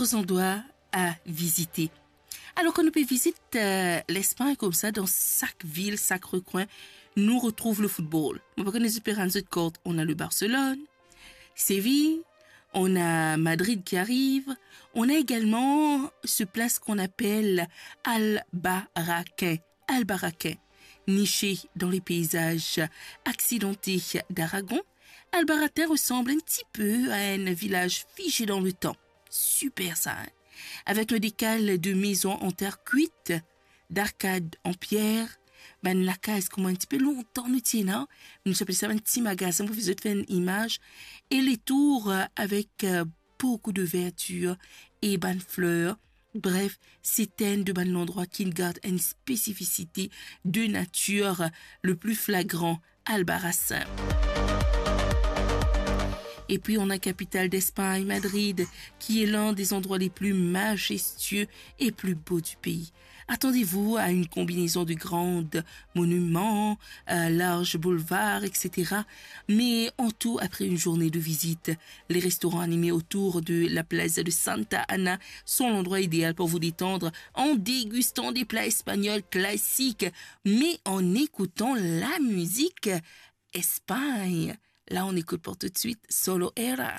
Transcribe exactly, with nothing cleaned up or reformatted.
Zandrwa a vizite. Alor, kan nou pe vizit, euh, Lespagn koumsa, dan sak vil, sak rekwin, nou retrouv le football. Mo pa kone zot pe rann zot kort, on a le Barcelone, Séville, on a Madrid qui arrive, on a également ce place qu'on appelle Albarracín. Albarracín, niché dans les paysages accidentés d'Aragon, Albarracín ressemble un petit peu à un village figé dans le temps. Super sa, hein? Avec un décal de maisons en terre cuite, d'arcades en pierre, bann lakaz kouma enn tipe lontan nou ti ena, nou ti apel sa bann ti magazin, pou zot fer enn imaz, e les tours, euh, avec, euh, beaucoup de verdure e bann fler. Bref, se enn de bann landrwa ki gard enn spesifisite de natir le plus flagrant, Albarracín. Et puis, on a capitale d'Espagne, Madrid, qui est l'un des endroits les plus majestueux et plus beaux du pays. Attendez-vous à une combinaison de grands monuments, euh, larges boulevards, et cetera. Mais en tout, après une journée de visite, les restaurants animés autour de la Plaza de Santa Ana sont l'endroit idéal pour vous détendre en dégustant des plats espagnols classiques, mais en écoutant la musique Espagne. Là, on écoute pour tout de suite Solo Era.